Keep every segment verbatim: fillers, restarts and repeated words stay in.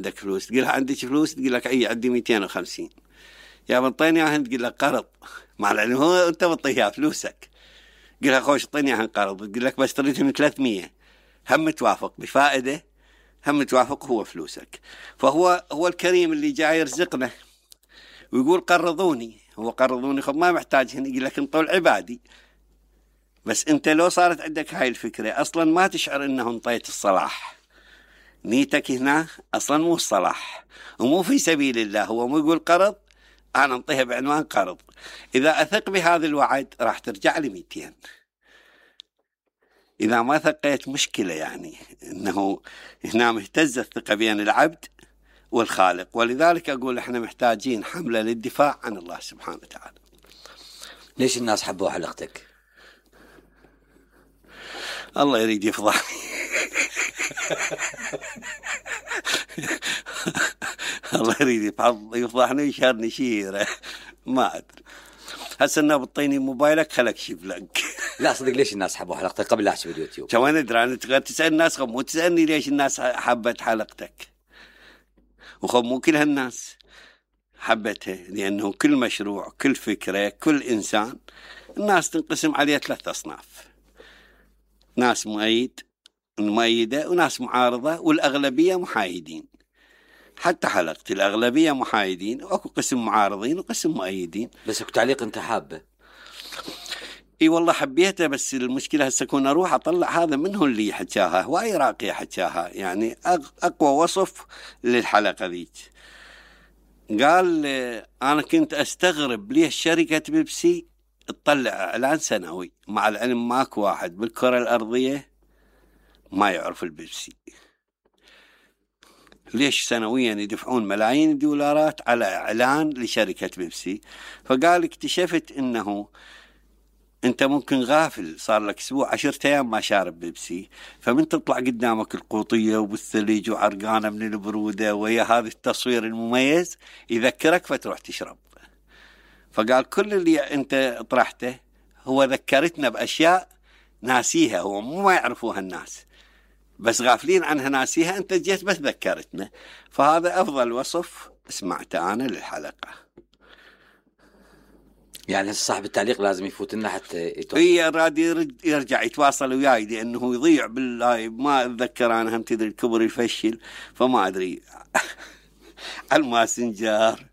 عندك فلوس؟ تقول لها عندك فلوس؟ تقول لك اي عندي مئتين وخمسين. يا بنطيني اياها، تقول لك قرض، مع العلم هو انت بتطيها فلوسك. تقول لها خوش اعطيني اياها قرض، تقول لك بس تريدهم ثلاثمية، هم توافق بفائده، هم توافق هو فلوسك. فهو هو الكريم اللي جاي يرزقنا ويقول قرضوني، هو قرضوني خب ما محتاج هنا، يقول لك انطوا العبادي. بس انت لو صارت عندك هاي الفكرة اصلا ما تشعر انه انطيت الصلاح، نيتك هنا اصلا مو الصلاح ومو في سبيل الله، هو مو يقول قرض انا انطيها بعنوان قرض. اذا اثق بهذا الوعد راح ترجع لي مئتين، اذا ما ثقيت مشكلة. يعني انه هنا مهتزة الثقة بين العبد والخالق، ولذلك اقول احنا محتاجين حملة للدفاع عن الله سبحانه وتعالى. ليش الناس حبوا حلقتك؟ الله يريد يفضحني. الله يريد يفضحني ويشهرني شيره، ما ادري. هسه انه بطيني موبايلك خلك شيف لك. لا صدق، ليش الناس حبوا حلقتك قبل لا احسب اليوتيوب؟ شو انا ادري، انا تقدر تسال الناس، خب مو تسالني ليش الناس حبت حلقتك، وخب مو كل هالناس حبتها، لانه كل مشروع، كل فكره، كل انسان الناس تنقسم عليه ثلاث اصناف: ناس مؤيد مؤيده، وناس معارضه، والاغلبيه محايدين. حتى حلقتي الاغلبيه محايدين، واكو قسم معارضين وقسم مؤيدين. بس اكو تعليق انت حابه؟ اي والله حبيته، بس المشكله هسه اكون اروح اطلع هذا منه اللي حكاها، هواي راقي حكاها، يعني اقوى وصف للحلقه ذيك. قال انا كنت استغرب ليش شركه بيبسي تطلع اعلان سنوي، مع العلم ماكو واحد بالكره الارضيه ما يعرف البيبسي، ليش سنويا يدفعون ملايين الدولارات على اعلان لشركه بيبسي؟ فقال اكتشفت انه انت ممكن غافل، صار لك اسبوع عشرة ايام ما شارب بيبسي، فمن تطلع قدامك القوطيه وبالثلج وعرقانه من البروده ويا هذا التصوير المميز يذكرك فتروح تشرب. فقال كل اللي انت طرحته هو ذكرتنا باشياء ناسيها، هو مو ما يعرفوها الناس، بس غافلين عنها ناسيها، انت جيت بس ذكرتنا. فهذا افضل وصف سمعته انا للحلقه. يعني صاحب التعليق لازم يفوت لنا حتى يتواصل. اي راد يرجع يتواصل وياي، لانه يضيع باللايف، ما اتذكر انا، هم تدري الكبر يفشل، فما ادري. على الماسنجر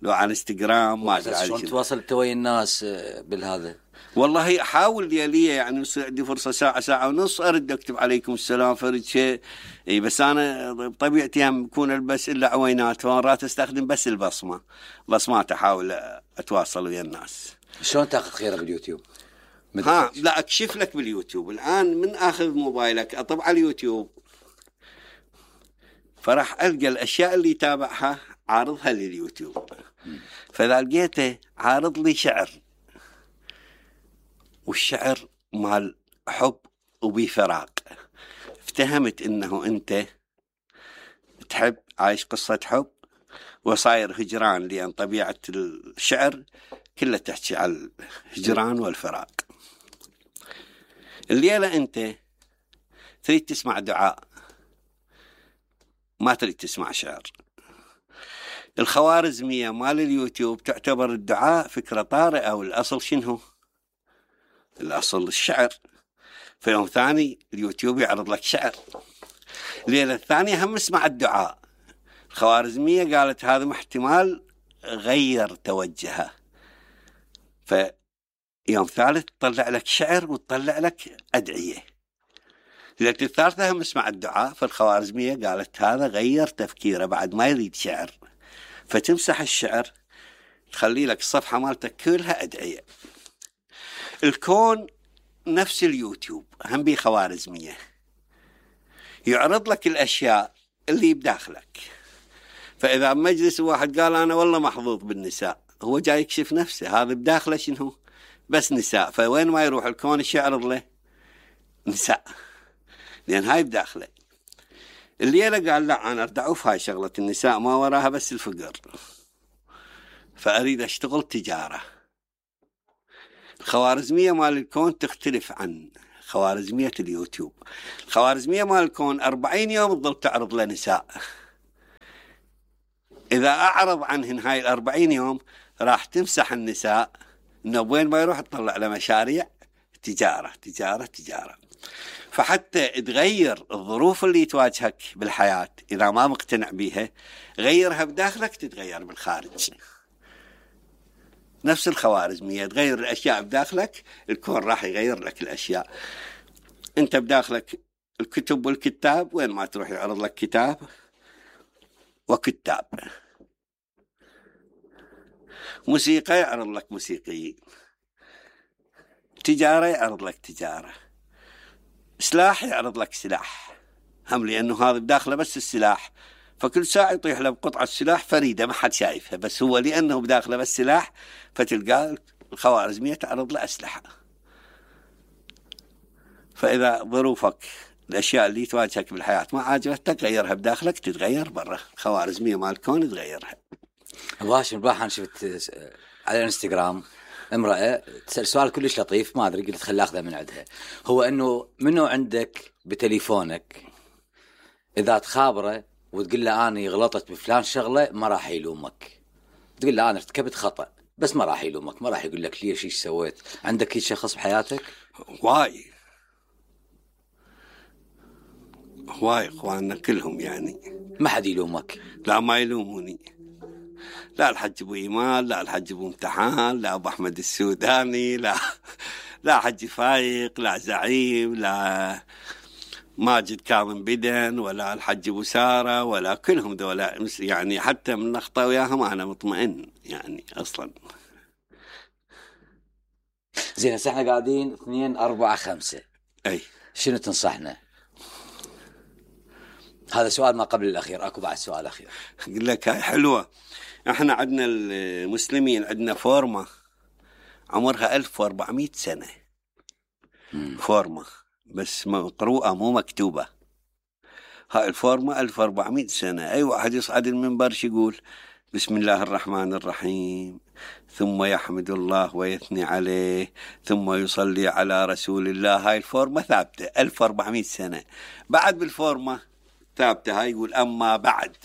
لو على انستغرام ما ادري. شلون تواصلت ويا الناس بالهذا؟ والله احاول لي لي يعني يصير عندي فرصه ساعه ساعه ونص ارد اكتب عليكم السلام فرد شيء. اي بس انا بطبيعتي هم يكون البس الا عوينات، فمرات استخدم بس البصمه، بصمات احاول اتواصل ويا الناس. شلون تاخذ خيره باليوتيوب؟ ها لا اكشف لك باليوتيوب الان، من اخذ موبايلك اطب على اليوتيوب، فراح القى الاشياء اللي يتابعها عارضها لليوتيوب. فاذا لقيته عارض لي شعر، والشعر مال حب وبفراق، افتهمت انه انت تحب، عايش قصة حب وصاير هجران، لان طبيعة الشعر كلها تحكي على الهجران والفراق. الليلة انت تريد تسمع دعاء، ما تريد تسمع شعر. الخوارزمية مال اليوتيوب تعتبر الدعاء فكرة طارئة، والأصل شنو؟ الأصل الشعر. في يوم ثاني اليوتيوب يعرض لك شعر، الليلة الثانية هم اسمع الدعاء. الخوارزمية قالت هذا احتمال غير توجهه، فيوم ثالث تطلع لك شعر وتطلع لك أدعية. ليلة الثالثة هم اسمع الدعاء، فالخوارزمية قالت هذا غير تفكيره بعد ما يريد شعر، فتمسح الشعر تخلي لك الصفحة مالتك كلها أدعية. الكون نفس اليوتيوب هم بي خوارزمية، يعرض لك الأشياء اللي بداخلك. فإذا مجلس واحد قال أنا والله محظوظ بالنساء، هو جاي يكشف نفسه، هذا بداخله شنو؟ بس نساء. فوين ما يروح الكون ايش يعرض له؟ نساء، لأن هاي بداخله. الليلة قال لا أنا أردعوف هاي شغلة النساء، ما وراها بس الفقر، فأريد أشتغل تجارة. الخوارزمية مال الكون تختلف عن خوارزمية اليوتيوب. الخوارزمية مال الكون أربعين يوم تظل تعرض لنساء، إذا أعرض عنهن هاي الأربعين يوم راح تمسح النساء إنه وين ما يروح تطلع له مشاريع تجارة تجارة تجارة. فحتى تغير الظروف اللي تواجهك بالحياة إذا ما مقتنع بيها، غيرها بداخلك تتغير بالخارج. نفس الخوارزمية، تغير الأشياء بداخلك الكون راح يغير لك الأشياء. أنت بداخلك الكتب والكتاب، وين ما تروح يعرض لك كتاب وكتاب. موسيقى يعرض لك موسيقيين، تجارة يعرض لك تجارة، سلاح يعرض لك سلاح، هم لأنه هذا بداخله بس السلاح، فكل ساعة يطيح له بقطعة سلاح فريدة ما حد شايفها، بس هو لأنه بداخله بس سلاح فتلقى الخوارزمية تعرض له أسلحة. فإذا ظروفك الأشياء اللي تواجهك بالحياة ما عاجبتك غيرها بداخلك تتغير برا. الخوارزمية مال الكون تغيرها. أبو هاشم البارحة شفت على الانستغرام امرأة تسأل سؤال كلش لطيف، ما أدري قلت خل أخذه من عندها، هو أنه منو عندك بتليفونك إذا تخابره وتقول له أنا غلطت بفلان شغلة ما راح يلومك، تقول له أنا ارتكبت خطأ بس ما راح يلومك، ما راح يقول لك ليش إيش سويت. عندك هيك شخص بحياتك؟ واي واي اخواننا كلهم يعني ما حد يلومك؟ لا ما يلوموني، لا الحج ابو ايمان، لا الحج ابو امتحان، لا ابو احمد السوداني، لا لا حج فايق، لا زعيم، لا ماجد كاظم بدن، ولا الحج ابو ساره، ولا كلهم ذولا يعني حتى من نخطه وياهم انا مطمئن يعني اصلا. زين هسه احنا قاعدين اثنين أربعة خمسة، اي شنو تنصحنا؟ هذا سؤال ما قبل الأخير، أكو بعد سؤال أخير. أقول لك هاي حلوة. احنا عندنا المسلمين عندنا فورمة عمرها ألف وأربعمائة سنة، مم. فورمة بس مقروءة مو مكتوبة. هاي الفورمة ألف وأربعمائة سنة. أي واحد يصعد المنبر يقول بسم الله الرحمن الرحيم، ثم يحمد الله ويثني عليه، ثم يصلي على رسول الله. هاي الفورمة ثابتة ألف وأربعمائة سنة. بعد بالفورمة ثابتة هاي يقول أما بعد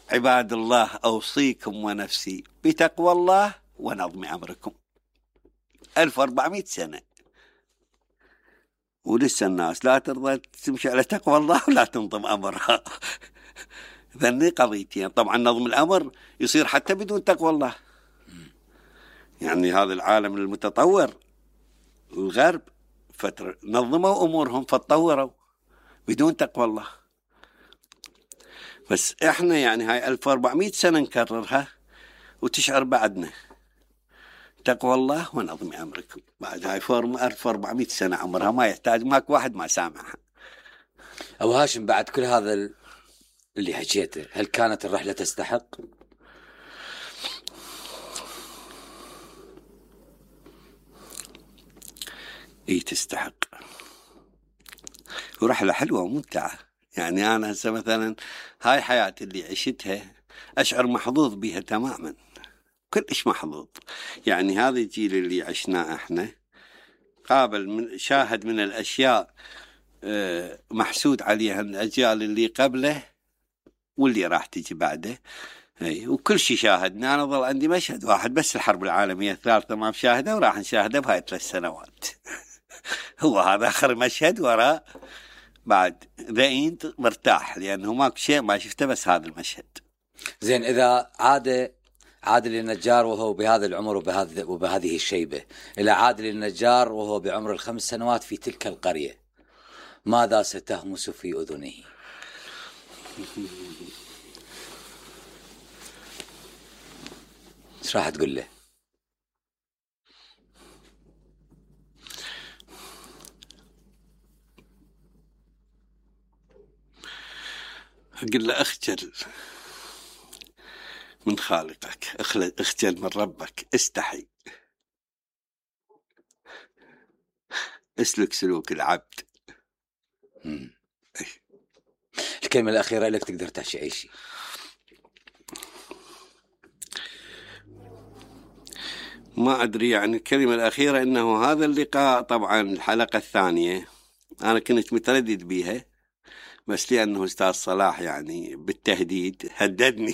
عباد الله أوصيكم ونفسي بتقوى الله ونظم أمركم. ألف وأربعمائة سنة ولسه الناس لا ترضى تمشي على تقوى الله ولا تنظم أمرها. ذني قضيتين. طبعا نظم الأمر يصير حتى بدون تقوى الله. يعني هذا العالم المتطور الغرب فترة نظموا أمورهم فتطوروا بدون تقوى الله. بس احنا يعني هاي ألف وأربعمائة سنة نكررها وتشعر بعدنا تقوى الله ونظم أمركم. بعد هاي فورمة ألف وأربعمائة سنة عمرها ما يحتاج ماك واحد ما سامعها. أبو هاشم بعد كل هذا اللي حكيته هل كانت الرحلة تستحق؟ اي تستحق، ورحلة حلوة وممتعة. يعني أنا هسه مثلا هاي حياتي اللي عشتها أشعر محظوظ بها تماما، كلش محظوظ. يعني هذا الجيل اللي عشناه احنا قابل من شاهد من الأشياء محسود عليها الأجيال اللي قبله واللي راح تيجي بعده. اي وكل شيء شاهدنا. أنا ظل عندي مشهد واحد بس الحرب العالمية الثالثة ما بشاهده وراح نشاهده بهاي ثلاث سنوات. هو هذا آخر مشهد وراء بعد ذاين مرتاح لأنه ماكو شيء ما شفته بس هذا المشهد. زين إذا عاد عادل النجار وهو بهذا العمر وبهذا وبهذه الشيبة إلى عادل النجار وهو بعمر الخمس سنوات في تلك القرية، ماذا ستهمس في أذنه؟ ايش راح تقول له؟ أقول له اخجل من خالقك، اخجل من ربك، استحي، اسلك سلوك العبد. مم. الكلمة الأخيرة لك تقدر تحكي أي شيء. ما أدري يعني الكلمة الأخيرة إنه هذا اللقاء طبعا الحلقة الثانية أنا كنت متردد بيها بس لأنه أستاذ صلاح يعني بالتهديد هددني.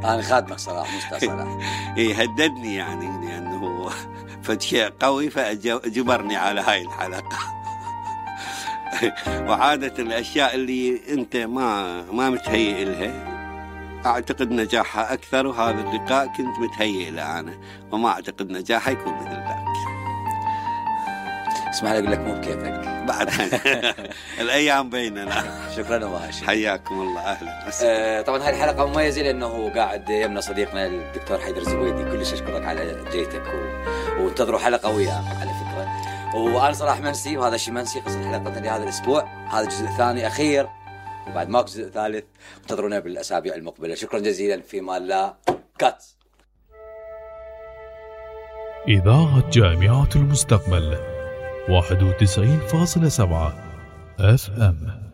أنا خادمك صلاح مو أستاذ صلاح. إيه هددني يعني لأنه فشيء قوي فجبرني على هاي الحلقة. وعادة الأشياء اللي أنت ما ما متهيئ لها أعتقد نجاحها أكثر، وهذا اللقاء كنت متهيئ له أنا، وما أعتقد نجاحه يكون مثل ذلك. اسمح لي أقول لك مو بكيفك بعد. الأيام بيننا. شكرا وماشي. حياكم الله. أهلا. آه طبعا هاي الحلقة مميزة لأنه قاعد يمنا صديقنا الدكتور حيدر الزبيدي، كلش أشكرك على جيتك و... وانتظروا حلقة وياه على فكرة. وأنا صراحة منسي، وهذا الشيء منسي، قصة حلقتنا لهذا الأسبوع، هذا الجزء الثاني أخير، وبعد ماكو جزء ثالث، انتظرونا بالأسابيع المقبلة. شكرا جزيلا. في مال الله. كات. إذاعة جامعة المستقبل واحد وتسعين فاصلة سبعة اف ام.